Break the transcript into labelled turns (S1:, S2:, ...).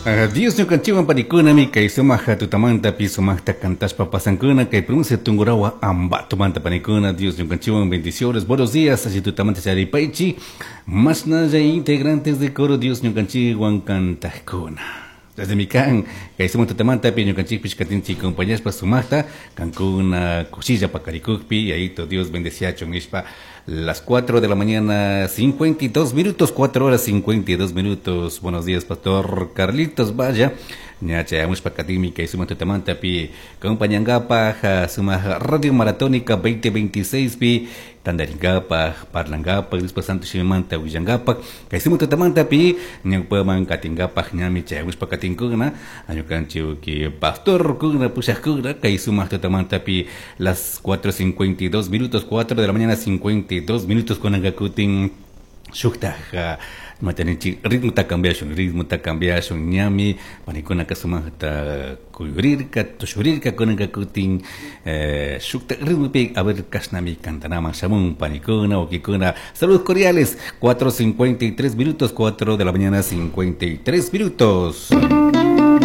S1: Dios ñukanchikwan panikunami kay sumaq tutamantapi sumaqta cantashpa pasankuna kay provincia Tungurahua Ambatomanta panikuna. Dios ñukanchikwan, bendiciones, buenos días, alli tutamanta charipaychi mashnalla integrantes de coro Dios ñukanchikwan cantajkuna. Desde mi kan kay sumaq tutamantapi ñukanchikpish katinchik acompañashpa sumaqta kankuna kushilla pakarikukpi Yayito Dios bendeciachun nishpa. Las 4 de la mañana, 52 minutos, 4 horas 52 minutos. Buenos días, Pastor Carlitos. Vaya, ña chayamushpa katimi kay sumaq tutamantapi acompañangapaj sumaq Radio Maratónica 2026 pi tandarinkapaj, parlankapaj, Diospa Santo Shimimanta willankapaj. Kay sumaq tutamantapi ñawpaman katinkapaj ñami chayamushpa katinkuna ñukanchik pastor kuna pushajkuna kay sumaq tutamantapi las 4:52 minutos, 4 de la mañana 52 minutos. Kunanka kutin shuktaj imataninchik ritmota cambiashun, ritmota cambiashun. Ñami panikunaka sumaqta kuyurirka, tushurirka. Kunanka kutin shuktaj ritmopi, a ver, kashnami cantanaman shamun panikuna, wawkikuna. Saludos cordiales. 4:53 minutos, 4 de la mañana 53 minutos.